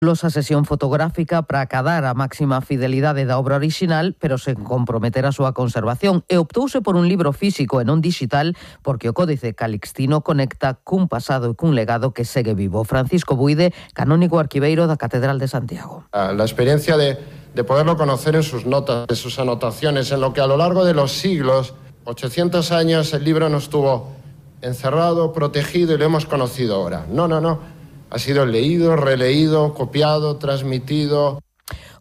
A sesión fotográfica para acadar a máxima fidelidade da obra orixinal, pero sen comprometer a súa conservación, e optouse por un libro físico e non digital porque o Códice Calixtino conecta cun pasado e cun legado que segue vivo. Francisco Buide, canónigo arquiveiro da Catedral de Santiago. La experiencia de poderlo conocer en sus notas, en sus anotaciones, en lo que a lo largo de los siglos, 800 años, el libro no estuvo encerrado, protegido y lo hemos conocido ahora. No. Ha sido leído, releído, copiado, transmitido.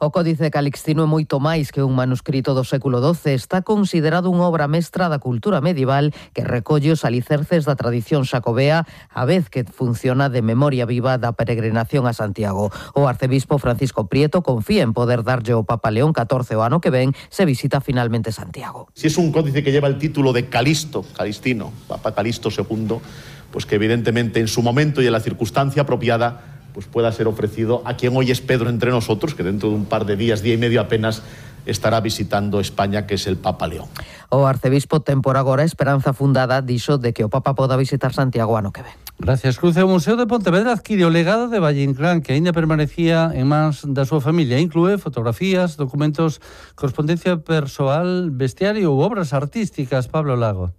O Códice Calixtino é moito máis que un manuscrito do século XII. Está considerado unha obra mestra da cultura medieval que recolle os alicerces da tradición xacobea, a vez que funciona de memoria viva da peregrinación a Santiago. O arcebispo Francisco Prieto confía en poder darlle ao Papa León XIV o ano que ven se visita finalmente Santiago. Si es un códice que lleva el título de Calixtino, Papa Calixto II, pues que evidentemente en su momento y en la circunstancia apropiada pues pueda ser ofrecido a quien hoy es Pedro entre nosotros, que dentro de un par de días, día y medio apenas, estará visitando España, que es el Papa León. O arcebispo ten por agora esperanza fundada dixo de que o Papa poda visitar Santiago ano que ven. Gracias, Cruz. O Museo de Pontevedra adquire o legado de Valle Inclán, que aínda permanecía en mans da súa familia. Inclúe fotografías, documentos, correspondencia persoal, bestiario ou obras artísticas. Pablo Lago.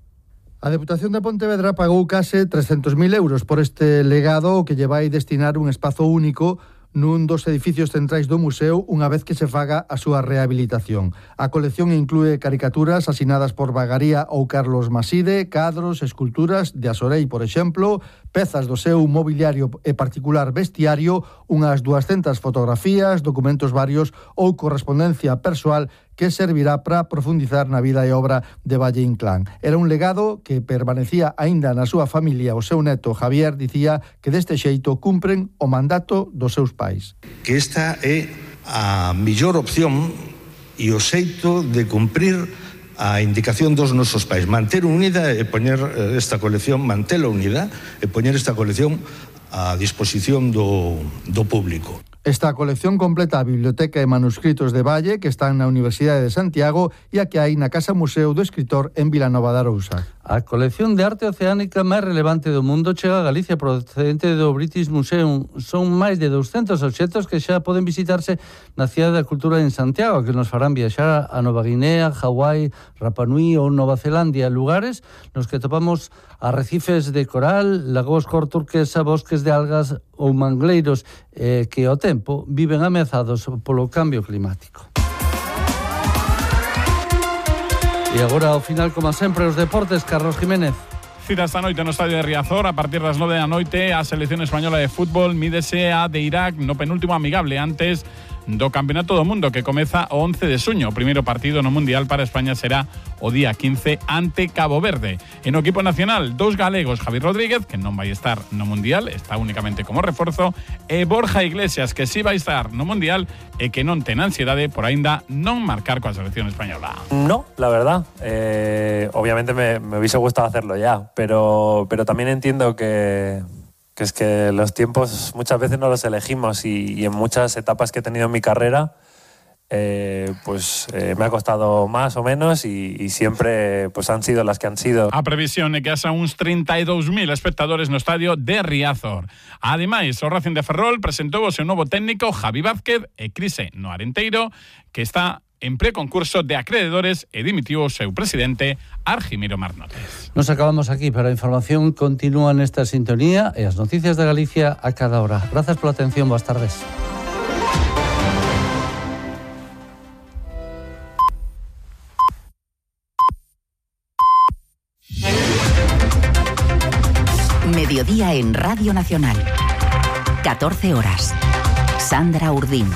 A Deputación de Pontevedra pagou case 300.000 euros por este legado que lle vai destinar un espazo único nun dos edificios centrais do museo unha vez que se faga a súa rehabilitación. A colección inclúe caricaturas asinadas por Bagaría ou Carlos Maside, cadros, esculturas de Asorei, por exemplo, pezas do seu mobiliario e particular bestiario, unhas 200 fotografías, documentos varios ou correspondencia persoal que servirá para profundizar na vida e obra de Valle Inclán. Era un legado que permanecía aínda na súa familia. O seu neto Javier dicía que deste xeito cumpren o mandato dos seus pais. Que esta é a mellor opción e o xeito de cumprir a indicación dos nosos pais. Manter unida e poñer esta colección, mantela unida e poñer esta colección a disposición do público. Esta colección completa a biblioteca e manuscritos de Valle que están na Universidade de Santiago e a que hai na Casa Museo do Escritor en Vilanova de Arousa. A colección de arte oceánica máis relevante do mundo chega a Galicia procedente do British Museum. Son máis de 200 obxectos que xa poden visitarse na Cidade da Cultura en Santiago, que nos farán viaxar a Nova Guinea, Hawái, Rapa Nui ou Nova Zelandia, lugares nos que topamos arrecifes de coral, lagos cor turquesa, bosques de algas ou mangleiros que ao tempo viven ameazados polo cambio climático. E agora, ao final, como sempre, os deportes, Carlos Jiménez. Cita esta noite no estadio de Riazor, a partir das 9 da noite, a selección española de fútbol mídese a de Irak no penúltimo amigable antes do Campeonato do Mundo que comeza o 11 de xuño. O primeiro partido no Mundial para España será o día 15 ante Cabo Verde. En o equipo nacional, dous galegos, Javi Rodríguez, que non vai estar no Mundial, está únicamente como reforzo, e Borja Iglesias, que sí vai estar no Mundial e que non ten ansiedade por aínda non marcar coa selección española. No, la verdad. Obviamente me hubiese gustado hacerlo ya, pero también entiendo que es que los tiempos muchas veces no los elegimos y en muchas etapas que he tenido en mi carrera me ha costado más o menos y siempre pues han sido las que han sido. A previsión é que haxa uns 32.000 espectadores no estadio de Riazor. Ademais, o Racing de Ferrol presentou o seu novo técnico Javi Vázquez e Crise no Arenteiro, que está en preconcurso de acreedores e dimitiu o seu presidente Argimiro Marnotes. Nos acabamos aquí, pero a información continúa nesta sintonía e as noticias de Galicia a cada hora. Grazas pola atención, boas tardes. Mediodía en Radio Nacional. 14 horas. Sandra Urdín.